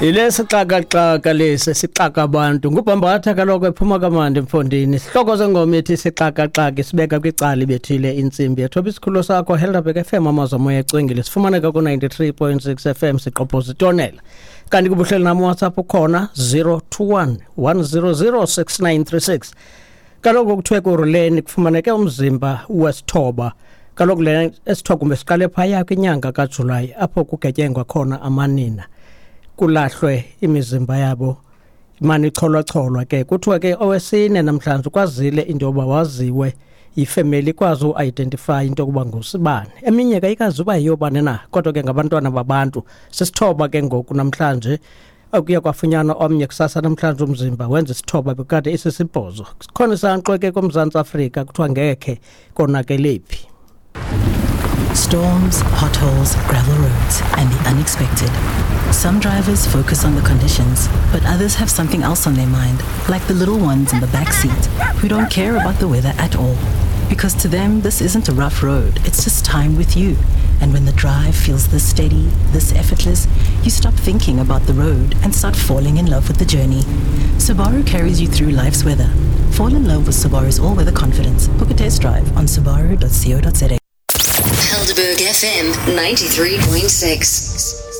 Ile sixakaxaka lesi sixaka abantu ngubhambatha kaloku ephuma kamandi mfondini. Sihloko sengoma ethi sixakaxaka sibeka kwicala ibethile intsimbi yethoba isikhululo sakho Helderberg FM amazwi omoya ecwengile sifumaneka ku-93.6 FM siqophoza itonela. Kanti kubuhleli nam WhatsApp ukhona 021 100 6936. Kaloku kuthiwe kuruleni kufumaneke umzimba wesithoba. Kaloku le esithoba siqale phaya kwinyanga kaJulayi apho kugetyengwa khona amanina. Kulahlwe imizimba yabo imane icholwacholwa ke. Kuthiwa ke owesine namhlanje ukwazile into yoba waziwe ifemeli ikwazi uidentify into yokuba ngusibani. Eminye ke ayikazi uba yiyobani na, kodwa ke ngabantwana babantu. Sisithoba ke ngoku namhlanje, okuye kwafunyanwa omnye kusasa namhlanje umzimba wenza isithoba bekade isisibhozo. Sikhona isankxwe ke koMzantsi Afrika kuthiwa ngekhe konakele phi. Storms, potholes, gravel roads, and the unexpected. Some drivers focus on the conditions, but others have something else on their mind, like the little ones in the back seat who don't care about the weather at all. Because to them, this isn't a rough road, it's just time with you. And when the drive feels this steady, this effortless, you stop thinking about the road and start falling in love with the journey. Subaru carries you through life's weather. Fall in love with Subaru's all-weather confidence. Book a test drive on subaru.co.za. Helderberg FM 93.6.